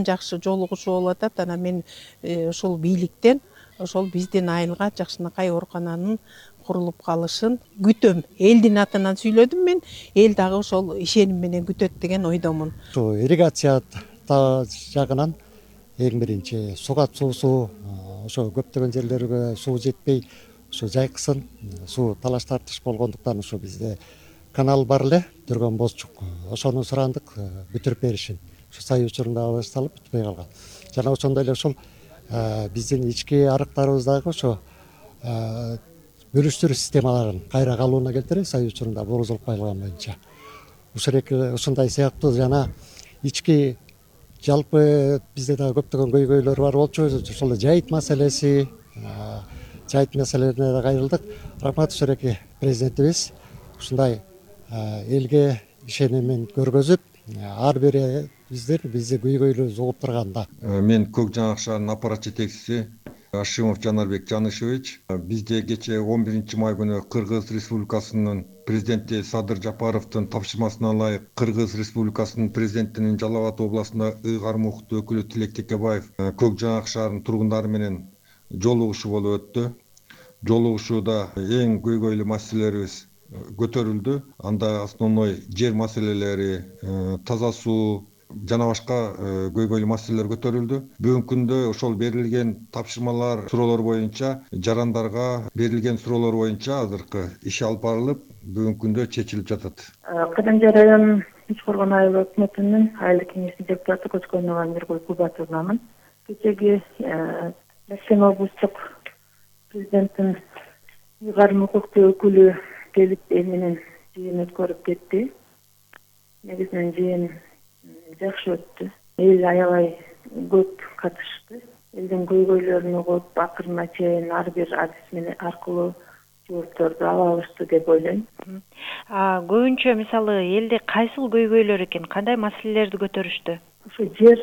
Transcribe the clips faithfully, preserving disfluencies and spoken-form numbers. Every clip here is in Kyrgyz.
жакшы жолугушуу болуп атат. Анан мен ошол бийликтен ошол биздин айылга Жакшынакай оорукананын курулуп калышын күтөм. Элдин атынан сүйлөдүм мен. Эл дагы ошол ишеним менен күтөт деген ойдомун. Ошо ирригация жагынан эң биринчи сугат суусу ошо көптөгөн жерлерге суу жетпей, ошо жайкысын суу талаш тартыш болгондуктан ошо бизде канал бар эле, Түргөн Бозчук. Ошону сурандык бүтүрүп беришин. Ошо сай учурунда башталып бүтпөй калган. Жана ошондой эле ошол биздин ички арыктарыбыздагы ошо бөлүштүрүү системаларын кайра калыбына келтирип, сай учурунда борузулуп кайылган боюнча. Ушундай сыяктуу жана ички жалпы бизде дагы көптөгөн көйгөйлөр бар болчу. Ошол жайыт маселеси, жайыт маселелерине да кайрылдык. Рахмат Шереки президентибиз ушундай элге ишенимин көргөзүп, ар бири биздер бизди көйгөйлөрүбүздү угуп турганда. Мен Көк Жаңак шаарынын аппарат жетекчиси Ашимов Жанарбек Жанышевич. Бизде кечээ он биринчи май күнү Кыргыз Республикасынын президенти Садыр Жапаровдун тапшырмасына ылайык Кыргыз Республикасынын президентинин Жалал Абад областында ыйгар мукуттуу өкүлү Тилек Текебаев Көк Жаңак шаарынын тургундары менен жолугушуу болуп өттү. Жолугушууда эң көйгөйлүү маселелерибиз көтөрүлдү. Анда основной жер маселелери, таза суу жана башка көйгөйлүү маселелер көтөрүлдү. Бүгүнкү күндө ошол берилген тапшырмалар, суроолор боюнча, жарандарга берилген суроолор боюнча азыркы иш алып барылып, бүгүнкү күндө чечилип жатат. Кырымжа районунун Ичкоргон айыл өкмөтүнүн айыл кеңешинин депутаты Көчкөнова Миргүл Кубатовнамын. Кечеги Башкент облустук президенттин ыйгар мукуктуу өкүлү келип эл менен жыйын өткөрүп кетти. Негизинен жыйын жакшы өттү. Эл аябай көп катышты. Элдин көйгөйлөрүн угуп, акырына чейин ар бир адис менен аркылуу жоопторду ала алышты деп ойлойм. Көбүнчө мисалы элде кайсыл көйгөйлөр экен, кандай маселелерди көтөрүштү? Ошо жер,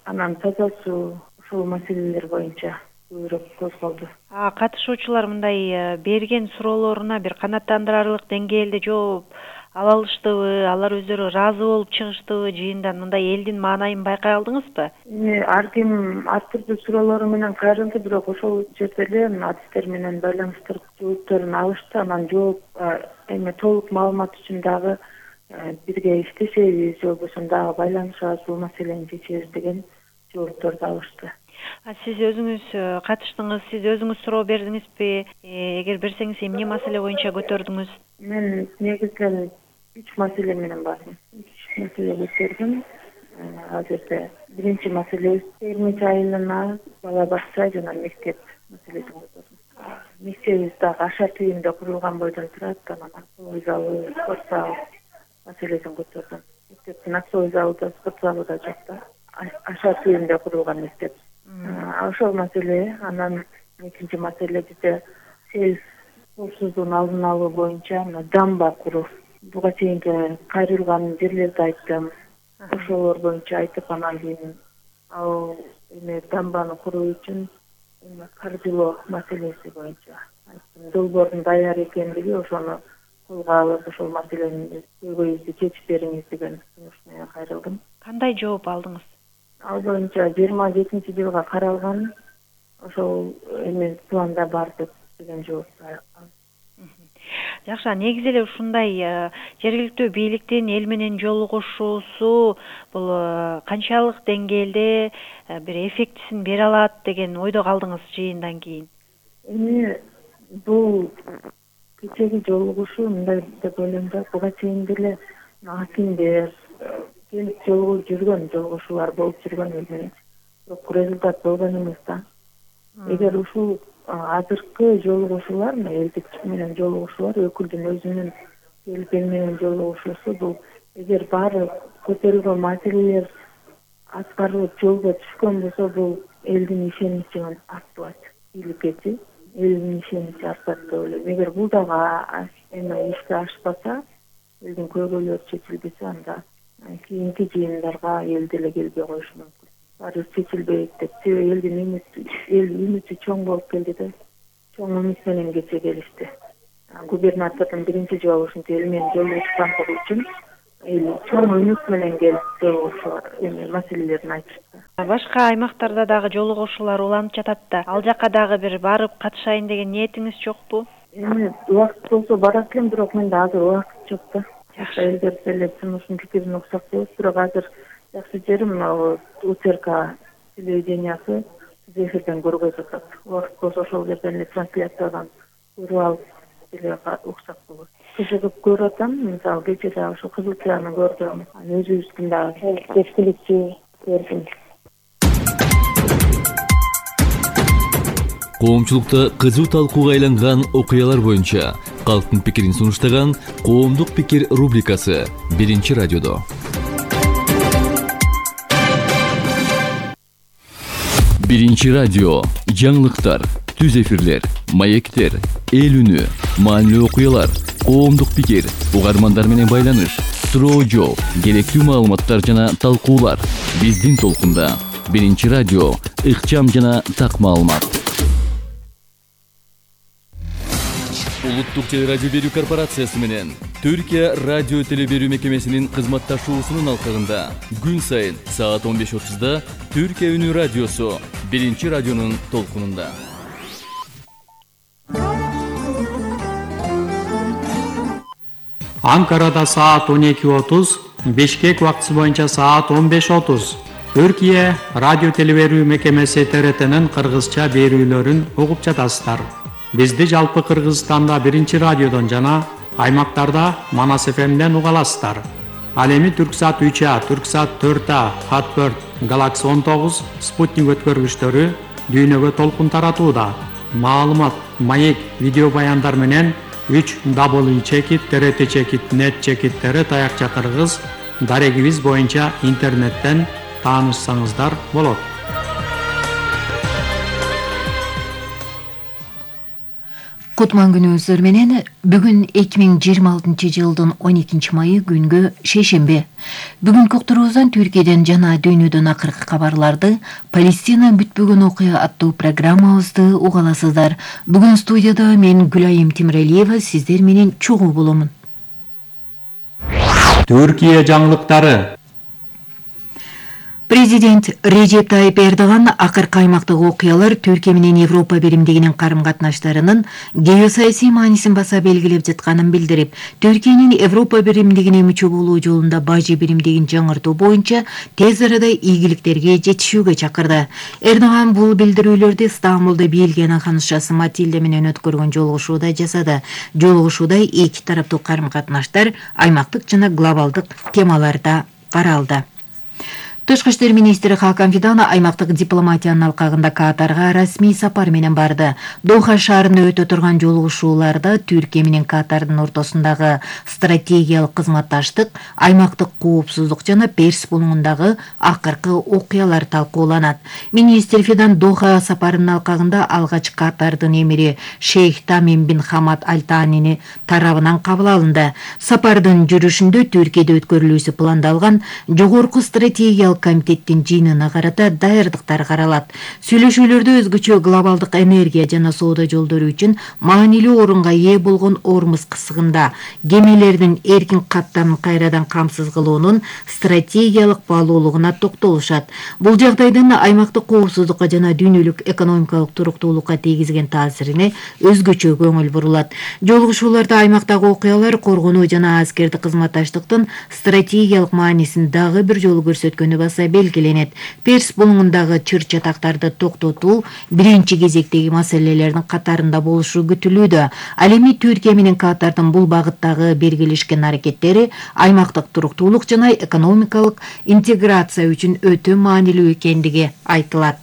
анан таза суу, ошол маселелер боюнча көбүрөөк козголду. Катышуучулар мындай берген суроолоруна бир канааттандырарлык деңгээлде жооп ала алыштыбы, алар өздөрү ыраазы болуп чыгыштыбы жыйындан, мындай элдин маанайын байкай алдыңызбы? Эми ар ким ар түрдүү суроолору менен кайрылды, бирок ошол жерде эле адистер менен байланыштырып жоопторун алышты. Анан жооп эми толук маалымат үчүн дагы бирге иштешебиз, же болбосо дагы байланышабыз, бул маселени чечебиз деген жоопторду алышты. Сиз өзүңүз катыштыңыз, сиз өзүңүз суроо бердиңизби? Эгер берсеңиз, эмне маселе боюнча көтөрдүңүз? Мен негизинен үч маселе менен бардым. Үч маселе көтөрдүм. Ал жерде биринчи маселе Эрмич айылына бала бакча жана мектеп маселесин көтөрдүм. Мектебибиз дагы аша түйүндө курулган бойдон турат, анан актовый залы, спорт зал маселесин көтөрдүм. Мектептин актовый залы да, спорт залы да жок да. Аша түйүндө курулган мектеп. Ошол маселе. Анан экинчи маселе бизде сел коопсуздугун алдын алуу боюнча дамба куруу. Буга чейинки кайрылган жерлерди айттым. Ошолор боюнча айтып, анан кийин ал эме дамбаны куруу үчүн каржылоо маселеси боюнча айттым. Долбоордун даяр экендиги, ошону колго алып, ошол маселени көйгөйүбүздү чечип бериңиз деген сунуш менен кайрылдым. Кандай жооп алдыңыз? Ал боюнча жыйырма жетинчи жылга каралган, ошол эме планда бар деген жооп алдым. Жакшы, негизи эле ушундай жергиликтүү бийликтин эл менен жолугушуусу бул канчалык деңгээлде бир эффектисин бере алат деген ойдо калдыңыз жыйындан кийин? Эми бул кечеги жолугушуу мындай деп ойлойм да, буга чейин деле акимдер келип жолугуп жүргөн, жолугушуулар болуп жүргөн эл менен. Бирок результат болгон эмес да. Эгер ушул азыркы жолугушуулар, элдик менен жолугушуулар, өкүлдүн өзүнүн келип эл менен жолугушуусу, бул эгер баары көтөрүлгөн маселелер аткарылып жолго түшкөн болсо, бул элдин ишеничин арттырат. Бийликкечи элдин ишеничи артат деп ойлойм. Эгер бул дагы эме ишке ашпаса, элдин көйгөйлөрү чечилбесе, анда кийинки жыйындарга эл деле келбей коюшу мүмкүн. Баары чечилбейт деп. Себеби элдин үмүтү, эл үмүтү чоң болуп келди да. Чоң үмүт менен кече келишти. Губернатордун биринчи жолу ушинтип эл менен жолугушкандыгы үчүн эл чоң үнөт менен келип ошо эме маселелерин айтышты. Башка аймактарда дагы жолугушуулар уланып жатат да. Ал жака дагы бир барып катышайын деген ниетиңиз жокпу? Эми убакыт болсо барат элем, бирок менде азыр убакыт жок да. Жакшы элдер деле жумуштун пикирин уксак болот, бирок азыр жакшы жери мына УТРК телевидениясы эфирден көргөзүп атат. Убакыт болсо ошол жерден эле трансляциядан көрүп алып деле уксак болот. Кызыгып көрүп атам, мисалы кечээ дагы ошо Кызыл Тияны көрдүм. Анан өзүбүздүн дагы кечкиликчи көрдүм. Коомчулукта кызуу талкууга айланган окуялар боюнча калктын пикирин сунуштаган Коомдук пикир рубрикасы биринчи радиодо. Биринчи радио жаңылыктар, түз эфирлер, маектер, эл үнү, маанилүү окуялар, коомдук пикир, угармандар менен байланыш, суроо жооп, керектүү маалыматтар жана талкуулар биздин толкунда. Биринчи радио ыкчам жана так маалымат. Улуттук телерадио берүү корпорациясы менен Түркия радио телеберүү мекемесинин кызматташуусунун алкагында күн сайын саат он беш отузда Түркия үнү радиосу биринчи радионун толкунунда. Анкарада саат он эки отуз, Бишкек убактысы боюнча саат он беш отуз. Түркия радио телеберүү мекемеси Т Р Т'нин кыргызча берүүлөрүн угуп жатасыздар. Бизди жалпы Кыргызстанда биринчи радиодон жана аймактарда Манас эф эмден уга аласыздар. Ал эми Түрксат үч А, Түрксат төрт А, Хатберт, Галакси он тогуз, Спутник өткөргүчтөрү дүйнөгө толкун таратууда. Маалымат, маек, видео баяндар менен үч дабл чекит, Т Р Т чекит, нет чекиттери таякча кыргыз дарегибиз боюнча интернеттен таанышсаңыздар болот. Кутман күнүңүздөр менен бүгүн эки миң жыйырма алтынчы жылдын он экинчи майы күнгө шейшемби. Бүгүнкү уктуруубуздан Түркияден жана дүйнөдөн акыркы кабарларды Палестина бүтпөгөн окуя аттуу программабызды уга аласыздар. Бүгүн студияда мен Гүлайым Тимиралиева сиздер менен чогуу боломун. Түркия жаңылыктары. Президент Режеп Тайип Эрдоган акыркы аймактык окуялар Түркия менен Европа биримдигинин карым-катнаштарынын геосаясий маанисин баса белгилеп жатканын билдирип, Түркиянын Европа биримдигине мүчө болуу жолунда бажы биримдигин жаңыртуу боюнча тез арада ийгиликтерге жетишүүгө чакырды. Эрдоган бул билдирүүлөрдү Стамбулда бийлген ханышасы Матильда менен өткөргөн жолугушууда жасады. Жолугушууда эки тараптуу карым-катнаштар аймактык жана глобалдык темаларда каралды. Тышкы иштер министри Хакан Фидан аймактык дипломатиянын алкагында Катарга расмий сапар менен барды. Доха шаарында өтө турган жолугушууларда Түркия менен Катардын ортосундагы стратегиялык кызматташтык, аймактык коопсуздук жана Перс булуңундагы акыркы окуялар талкууланат. Министр Фидан Доха сапарынын алкагында алгач Катардын эмири Шейх Тамим бин Хамад Аль Танини тарабынан кабыл алынды. Сапардын жүрүшүндө Түркияда өткөрүлүүсү пландалган жогорку стратегиялык комитеттин жыйынына карата даярдыктар каралат. Сүйлөшүүлөрдө өзгөчө глобалдык энергия жана соода жолдору үчүн маанилүү орунга ээ болгон Ормуз кысыгында кемелердин эркин каттамын кайрадан камсыз кылуунун стратегиялык баалуулугуна токтолушат. Бул жагдайдын аймактык коопсуздукка жана дүйнөлүк экономикалык туруктуулукка тийгизген таасирине өзгөчө көңүл бурулат. Жолугушууларда аймактагы окуялар коргонуу жана аскердик кызматташтыктын стратегиялык маанисин дагы бир жолу көрсөткөнү белгиленет. Перс булуңундагы чыр-чатактарды токтотуу биринчи кезектеги маселелердин катарында болушу күтүлүүдө. Ал эми Түркия менен Катардын бул багыттагы бергилешкен аракеттери аймактык туруктуулук жана экономикалык интеграция үчүн өтө маанилүү экендиги айтылат.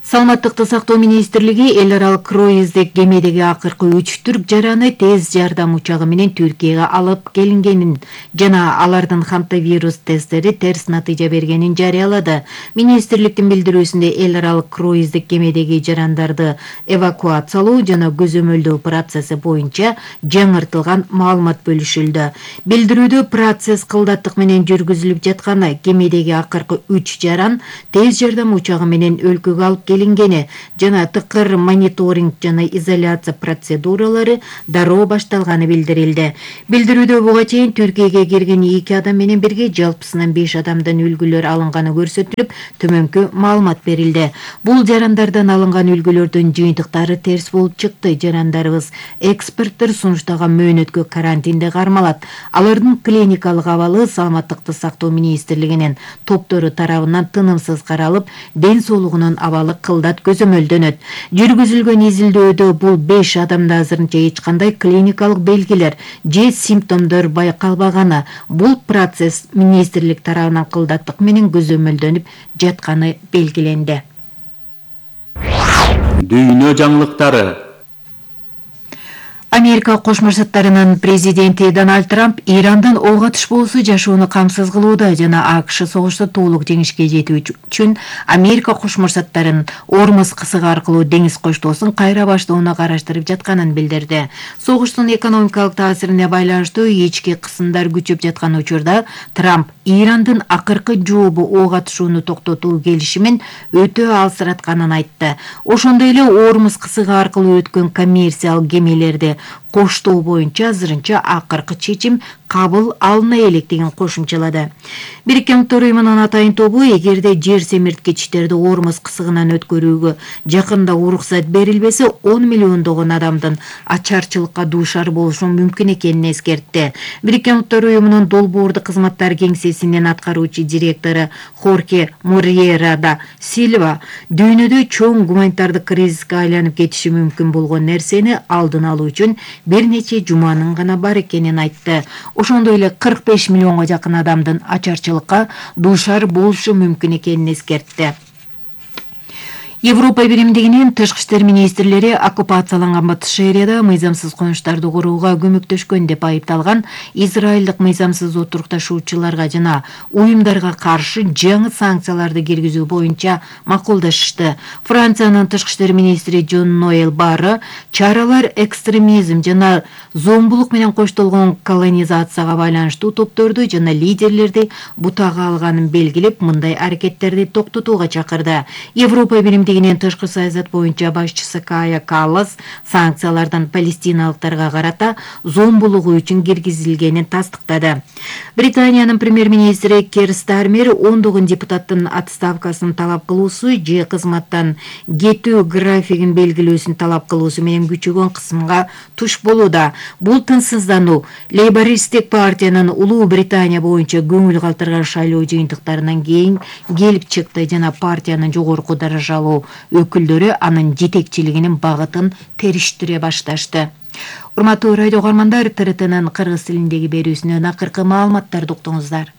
Саламаттыкты сактоо министрлиги эл аралык круиздик кемедеги акыркы үч түрк жараны тез жардам учагы менен Түркияга алып келингенин жана алардын хантавирус тесттери терс натыйжа бергенин жарыялады. Министрликтин билдирүүсүндө эл аралык круиздик кемедеги жарандарды эвакуациялоо жана көзөмөлдөө процесси боюнча жаңыртылган маалымат бөлүшүлдү. Билдирүүдө процесс кылдаттык менен жүргүзүлүп жатканы, кемедеги акыркы үч жаран тез жардам учагы менен өлкөгө алып келингени жана тыкыр мониторинг жана изоляция процедуралары дароо башталганы билдирилди. Билдирүүдө буга чейин Түркияга кирген эки адам менен бирге жалпысынан беш адамдан үлгүлөр алынганы көрсөтүлүп, төмөнкү маалымат берилди. Бул жарандардан алынган үлгүлөрдүн жыйынтыктары терс болуп чыкты. Жарандарыбыз эксперттер сунуштаган мөөнөткө карантинде кармалат. Алардын клиникалык абалы саламаттыкты сактоо министрлигинин топтору тарабынан тынымсыз каралып, ден соолугунун абалы кылдат көзөмөлдөнөт. Жүргүзүлгөн изилдөөдө бул беш адамда азырынча эч кандай клиникалык белгилер же симптомдор байкалбаганы, бул процесс министрлик тарабынан кылдаттык менен көзөмөлдөнүп жатканы белгиленди. Дүйнө жаңылыктары. Америка Кошмо Штаттарынын президенти Дональд Трамп Ирандан ок атышпоосу жашоону камсыз кылууда жана АКШ согушта толук жеңишке жетүү үчүн Америка Кошмо Штаттарынын Ормуз кысыгы аркылуу деңиз коштоосун кайра баштоону караштырып жатканын билдирди. Согуштун экономикалык таасирине байланыштуу ички кысымдар күчөп жаткан учурда Трамп Ирандын акыркы жообу ок атышууну токтотуу келишимин өтө алсыратканын айтты. Ошондой эле Ормуз кысыгы аркылуу өткөн коммерциялык кемелерди коштоо боюнча азырынча акыркы чечим кабыл алына электигин кошумчалады. Бириккен Улуттар Уюмунун атайын тобу эгерде жер семирткичтерди Ормуз кысыгынан өткөрүүгө жакында уруксат берилбесе, он миллиондогон адамдын ачарчылыкка дуушар болушу мүмкүн экенин эскертти. Бириккен Улуттар Уюмунун долбоордук кызматтар кеңсесинин аткаруучу директору Хорхе Морьера да Сильва дүйнөдө чоң гуманитардык кризиске айланып кетиши мүмкүн болгон нерсени алдын алуу үчүн бир нече жуманын гана бар экенин айтты. Ошондой эле кырк беш миллионго жакын адамдын ачарчылыкка дуушар болушу мүмкүн экенин эскертти. Европа биримдигинин тышкы иштер министрлери оккупацияланган Батыш Шаарияда мыйзамсыз конуштарды курууга көмөктөшкөн деп айыпталган израилдик мыйзамсыз отурукташуучуларга жана уюмдарга каршы жаңы санкцияларды киргизүү боюнча макулдашышты. Франциянын тышкы иштер министри Жон Ноэл Барры чаралар экстремизм жана зомбулук менен коштолгон колонизацияга байланыштуу топторду жана лидерлерди бутага алганын белгилеп, мындай аракеттерди токтотууга чакырды. Европа биримдигинин тышкы саясат боюнча башчысы Кая Каллас санкциялардан палестиналыктарга карата зомбулугу үчүн киргизилгенин тастыктады. Британиянын премьер-министри Кир Стармер ондогон депутаттын отставкасын талап кылуусу же кызматтан кетүү графигин белгилөөсүн талап кылуусу менен күчөгөн кысымга туш болууда. Бул тынчсыздануу Лейбористтик партиянын Улуу Британия боюнча көңүл калтырган шайлоо жыйынтыктарынан кийин келип чыкты жана партиянын жогорку даражалуу өкүлдөрү анын жетекчилигинин багытын териштире башташты. Урматтуу радио угармандар, Т Р Т'нын кыргыз тилиндеги берүүсүнөн акыркы маалыматтарды уктуңуздар.